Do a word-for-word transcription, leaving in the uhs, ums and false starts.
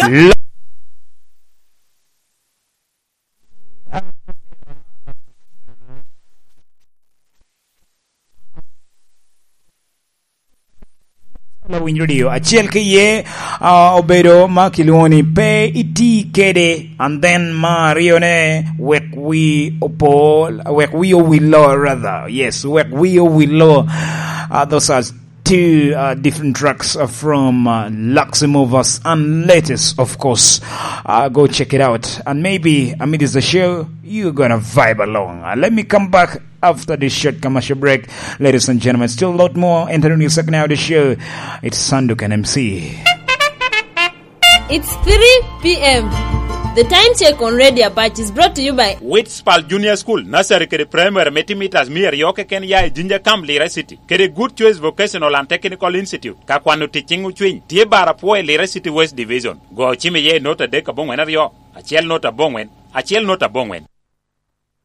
Lo- Lawiny Radio. Acel ki iye, ah, obedo ma kilwongo ni pe iti kede, and then ma aryone, wek wi opol, wek wi owillo, rather. Yes, wek wi owillo. Uh, those are two, uh, different tracks, uh, from, uh, Luxy Movers and latest, of course. Uh, go check it out. And maybe amid the show, you're gonna vibe along. Uh, let me come back after this short commercial break. Ladies and gentlemen, still a lot more entering the second hour of the show. It's Sanduk and M C. It's three p.m. The time check on Radio Batch is brought to you by Witspal Junior School, nursery kede primary me timitas mia aryo keken ya i Jinja Camp, Lira City, kede Good Choice Vocational and Technical Institute. Ka kwano ticing ocwiny, tye bar apwo i Lira City West Division. Go cim iye i not adek aboŋwen aryo, acel not aboŋwen, acel not aboŋwen.